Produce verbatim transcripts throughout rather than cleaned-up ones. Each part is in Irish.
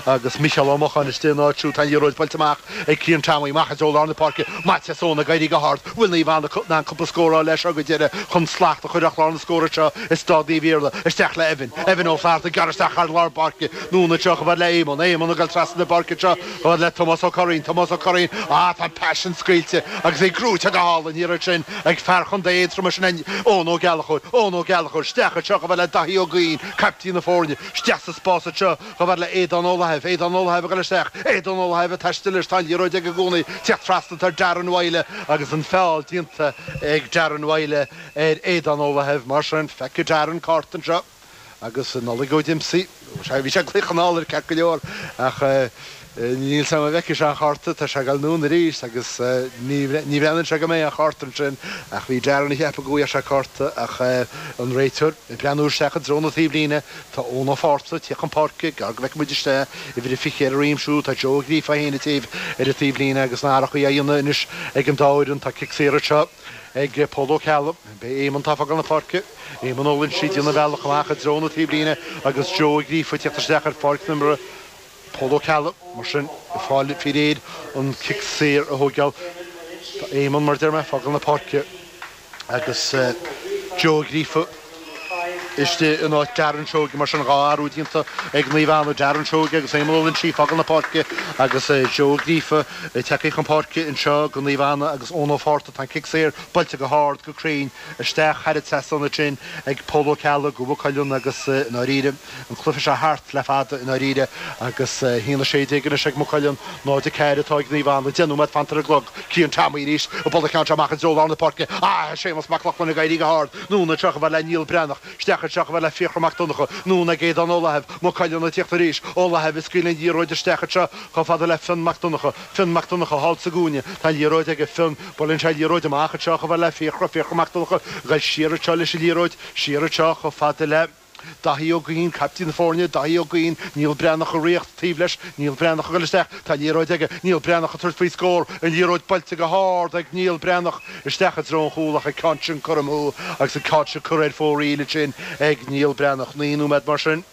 Agus Micheál Ó Mocháin istigh ina áit siúd. Tá an liathróid buailte amach ag Cian Tommy amach i dtreo lár na páirce. Maitias Eoin ag éirí go hard. Bhfuil Naomh Anna in ann cúpla scór a fháil leis seo go deireadh chun slacht a chur ar chlár na scór anseo i Staid Naomh Iarlaith. Isteach le Evan. Evan Ó Flatharta ag gearradh isteach thar lár páirce. Anonn anseo chomh fada le Éamonn. Éamonn ag dul trasna na páirce anseo chomh fada le Tomás Ó Curraoin. Tomás Ó Curraoin. Ah, tá an pas sin scaoilte agus é gnóite go hálainn an iarraidh sin ag fear Chontae Aontroma sin é Eoin Ó Gallchóir. Eoin Ó Gallchóir. Isteach anseo chomh fada le Daithí Ó Guinn, caiptín na foirne. Isteach sa spás anseo chomh fada le Aodán Ó Laithimh. Aodán Ó Laithimh ag dul isteach. Aodán Ó Laithimh ag taisteal leis. Tá an liathróid aige i gcónaí. Teacht trasna tá Darren Wylie agus an feall déanta ag Darren Wylie ar Aodán Ó Laithimh. Mar sin, feicfidh Darren cárta anseo agus Nollaig Ó Diomsaí. Bhí sé ag glaoch anall air ceart go leor ach níl 's agam an bhfeicfidh sé an chárta. Tá sé ag dul anonn arís agus ní bhreathnaíonn sé go mbeidh an chárta ansin ach bhí Darren ag ceapadh go bhfaigheadh sé cárta ach an réiteoir ag breathnú isteach i dtreo na taobhlíne. Tá Eoin Ó Fátharta ag tíocht chun páirce, gar go bhfeicfidh muid isteach uimhir a fiche ar a dhroim siúd. Tá Joe Ó Gríofa féin ag taobh ar an taobhlíne agus na hathrachaí á dhéanamh anois ag an dá fhoireann. Tá cic saor anseo ag Pól Ó Ceallaigh. Beidh Éamonn atá ag fágáil na páirce. Éamonn Ó Loinsigh ag déanamh a bhealach amach i dtreo na taobhlíne agus Joe Ó Gríofa ag tíocht isteach ar pháirc na himeartha. Pól Ó Ceallaigh, mar sin, ag fáil faoi réir an cic saor a thógáil. Tá Éamonn, mar a deir mé, ag fágáil na páirce agus Joe Ó Gríofa istigh in áit Darren Seoige. Mar sin, dhá athrú déanta ag Naomh Anna, Darren Seoige agus Éamonn Ó Loinsigh ag fágáil na páirce agus Joe Ó Gríofa tagtha chun páirce anseo do Naomh Anna agus Eoin Ó Fátharta. Tá an cic saor buailte go hard, go cruinn isteach thar an trasnán ansin ag Pól Ó Ceallaigh do Mhaigh Cuilinn agus i ndáiríre, An cluiche seo thart le fada i ndáiríre agus a haon a sé déag anois ag Maigh Cuilinn, náid a ceathair atá ag Naomh Anna. Deich nóiméad fanta ar an gclog. Cian Tommy arís ag bualadh an ceann seo amach i dtreo lár na páirce. Ah! Séamus Mac Lochlainn ag éirí go hard. Anonn anseo chomh fada le Niall Breathnach. Isteach anseo chomh fada le Fiachra Mac Donncha. Anonn ag Aodán Ó Laithimh. Maigh Cuilinn ag tíocht arís. Ó Laithimh ag scaoileadh an liathróid isteach anseo chomh fada le Fionn Mac Donncha. Fionn Mac Donncha thall sa gcúinne. Tá an liathróid aige. Fionn. Buaileann sé an liathróid amach anseo chomh fada le Fiachra. Fiachra Mac Donncha ag dul siar anseo leis an liathróid. Siar anseo chomh fada le. Daithí Ó Guinn, caiptín na foirne, Daithí Ó Guinn, Niall Breathnach ag ritheacht taobh leis, Niall Breathnach ag dul isteach, tá an liathróid aige, Niall Breathnach ag tabhairt faoi scór, an liathróid buailte go hard ag Niall Breathnach isteach i dtreo an chúil ach an ceann sin curtha amú agus an ceann sin curtha ar fóraoil ansin ag Niall Breathnach. Naoi nóiméad mar sin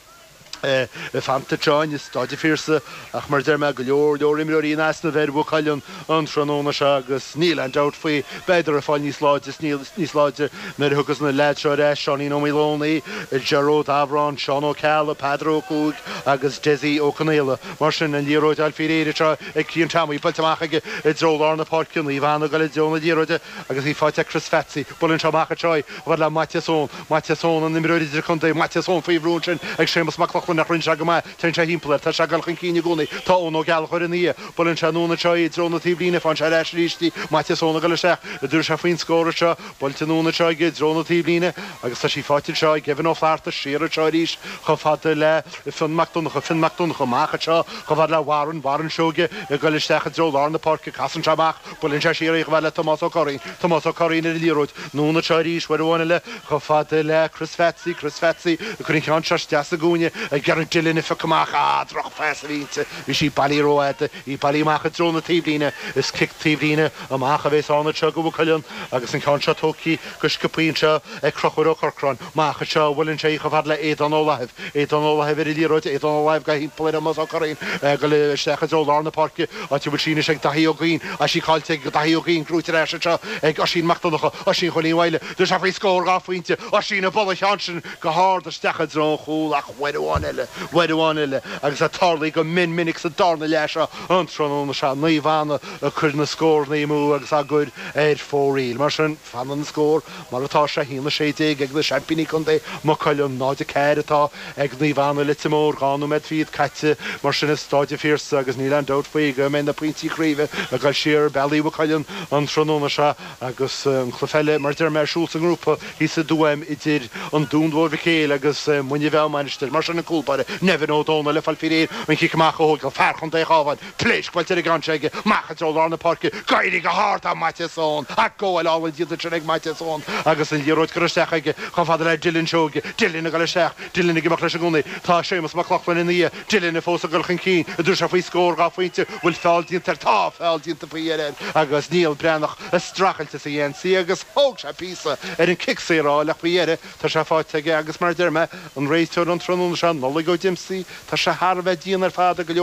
fanta anseo i Staid an Phiarsaigh ach mar a deir mé, go leor leor imreoirí in easnamh ar Mhaigh Cuilinn an tráthnóna seo agus níl aon dabht faoi, beidar ag fáil níos láidre is níos láidre nuair a thiocfas na leaids seo ar ais, Seáinín Ó Maoileonaí, Ger Ó Dabhráin, Seán Ó Ceallaigh, Peadar Ó Cuaig agus Dessie Ó Conaola. Mar sin, an liathróid á fháil faoi réir anseo ag Cian Tommy, buailte amach aige i dtreo lár na páirce, Naomh Anna ag dul i dtreo na liathróide agus í faighte ag Chris Phatsy. Buaileann sé amach anseo í, chomh fada le Maitias Eoin. Maitias Eoin, an imreoir idirchontae, Maitias Eoin faoi bhrú ansin ag Séamus Mac Lochlainn ach rinne sé go maith. Téann sé thimpeall air. Tá sé ag dul chun cinn i gcónaí. Tá Eoin Ó Gallchóir ina dhiaidh. Buaileann sé anonn anseo í i dtreo na taobhlíne. Faigheann sé ar ais arís í. Maitias Eoin ag dul isteach. An dtabharfaidh sé faoin scór anseo. Buailte anonn anseo aige i dtreo na taobhlíne agus tá sí faighte anseo ag Evan Ó Flatharta. Siar anseo arís chomh fada le Fionn Mac Donncha. Fionn Mac Donncha amach anseo chomh fada le Warren. Warren Seoige ag dul isteach i dtreo lár na páirce. Casann sé amach. Buaileann sé siar í chomh fada le Tomás Ó Curraoin. Tomás Ó Curraoin ar an liathróid. Anonn anseo arís uair amháin eile chomh fada le Chris Phatsy. Chris Phatsy ag cur an ceann seo isteach sa gcúinne ag iarraidh Dylan a phiocadh amach. Ah, drochphas a bhí inti. Bhí sí bailithe rófhada. Í bailithe amach i dtreo na taobhlíne. Is cic taobhlíne amach a bhéas ann anseo do Mhaigh Cuilinn agus an ceann seo tógtha go sciobtha anseo ag Conchúr Ó Corcráin. Amach anseo a bhuaileann sé í chomh fada le Aodán Ó Laithimh. Aodán Ó Laithimh ar an liathróid. Aodán Ó Laithimh ag dul thimpeall ar Thomás Ó Curraoin ag dul isteach i dtreo lár na páirce, áit a bhfuil sí anois ag Daithí Ó Guinn. Tá sí caillte ag Daithí Ó Guinn, gnóite ar ais anseo ag Oisín Mac Donncha. Oisín Chóilín Mhaidhle. Tabharfaidh sé faoi scór dhá phointe. Oisín ag bualadh an cheann sin go hard isteach i dtreo an chúil ach uair amháin eile, uair amháin eile agus é tarlaithe go mion minic sa darna leath seo an tráthnóna seo, Naomh Anna ag cur na scóranna amú agus á gcur ar fóraoil. Mar sin, fanann an scór mar atá sé, a haon a sé déag ag na seaimpíní contae, Maigh Cuilinn, náid a ceathair atá ag Naomh Anna Leitir Móir, dhá nóiméad fichead caite mar sin i Stáid an Phiarsaigh agus níl aon dabht faoi go mbeidh na pointí craoibhe ag dul siar bealaí Mhaigh Cuilinn an tráthnóna seo agus an cluiche eile, mar a deir mé, ar siúl sa ngrúpa thíos i dTuaim idir an Dún Mhór Mhic Éil agus Muine Mheá Mainistir. Mar sin an cúl báire, Nevin Ó Dónaill, ag fáil faoi réir an chic amach a thógáil, fear Chontae an Chabháin, pléasc buailte ar an gceann seo aige, amach i dtreo lár na páirce, ag éirí go hard tá Maitias Eoin, ach gabháil álainn déanta ansin ag Maitias Eoin agus an liathróid curtha isteach aige chomh fada le Dylan Seoige. Dylan ag dul isteach, Dylan ag imeacht leis i gcónaí. Tá Séamus Mac Lochlainn ina dhiaidh, Dylan fós ag dul chun cinn, an dtabharfaidh sé faoi scór dhá phointe, bhfuil feall déanta air? Tá feall déanta faoi dheireadh air agus Niall Breathnach ag streachailt as a gheansaí agus thóg sé píosa ar an cic saor a fháil ach faoi dheireadh tá sé faighte aige agus mar a deir mé, an réiteoir an tráthnóna seo, Nollaig Ó Diomsaí, tá sé thar a bheith dian ar fad ag go leor.